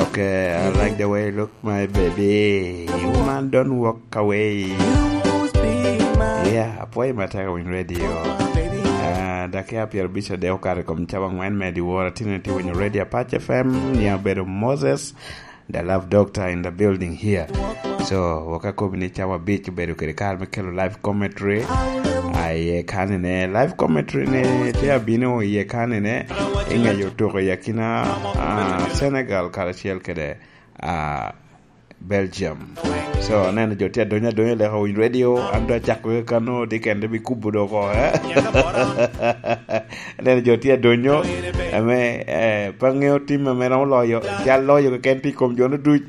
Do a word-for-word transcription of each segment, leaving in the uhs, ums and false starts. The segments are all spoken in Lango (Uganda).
Okay, I like the way you look, my baby. Woman, don't walk away. Yeah, apwoyo matek winy radio. Ah, dakika pyero bic ade okato i kom cawa angwen me dyewor, atye ni tye winyo radio Apac F M, ni abedo Moses, the love doctor in the building here. So, waka kobi ni cawa abic obedo kede kare me kelo live commentary. Ah, iye kanene, live commentary ni tye abino iye kanene, ingeyo tuko i akina, ah, Senegal karacel kede, ah, Belgium. So, aneno jo tye adonyo adonya leka winy radio, an dong acako kano, di kende bi kubo doko, eh? Aneno jo tye adonyo, ame, eh, pe aŋeo tim ame romo loyo, cal loyo keken tye i kom jo-nu duc.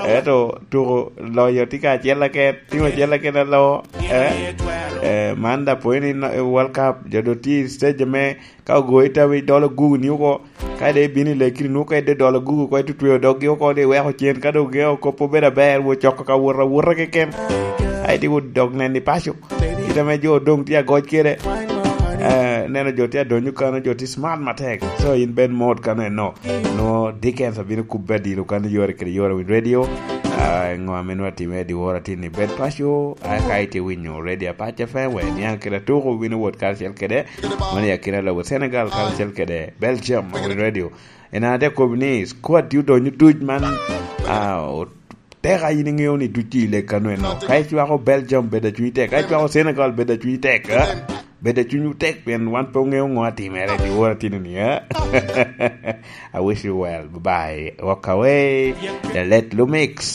Ento tuko loyo tye ka acel aken, tim acel aken aloo, eh? Eh, man da pwony ni no-, World Cup, jo do tye i stage ame ka ogoyi tawi dolo gugu ni oko, ka de ibino i lekiri nwoŋo ka idde dolo gugu ko itutweo doggi oko de iweko cen, ka dong geo kop obedo aber, wo coko ka wot awota keken. Ai, di wo dog nen i paco. Kit ame jo doŋ tye agoc kede. Eh, neno jo tye adonyo kano, jo tye smart matek. So, in bed mot kano eno. Nwo Dickens abino kubbe adilo kano yore kede yore winy radio. Ah, ŋo ame nwa time di wora tin ni bed paco, a ka itye winyo radio Apac F M, we niaŋ kede atuko wino wot karacel kede. Mano i akina lobo Senegal karacel kede Belgium winy radio. En ate kobo ni squad tye odonyo duc man, ah, o-, tek a in iŋeo ni duc i lek kano eno. Ka icwako Belgium, bed acunyi tek. Ka icwako Senegal, bed acunyi tek, eh? Bed acunyi tek, pien wan pe oŋeo ŋo atimere, di wora tino ni, eh? I wish you well. Bye-bye. Walk away. The late Lumix.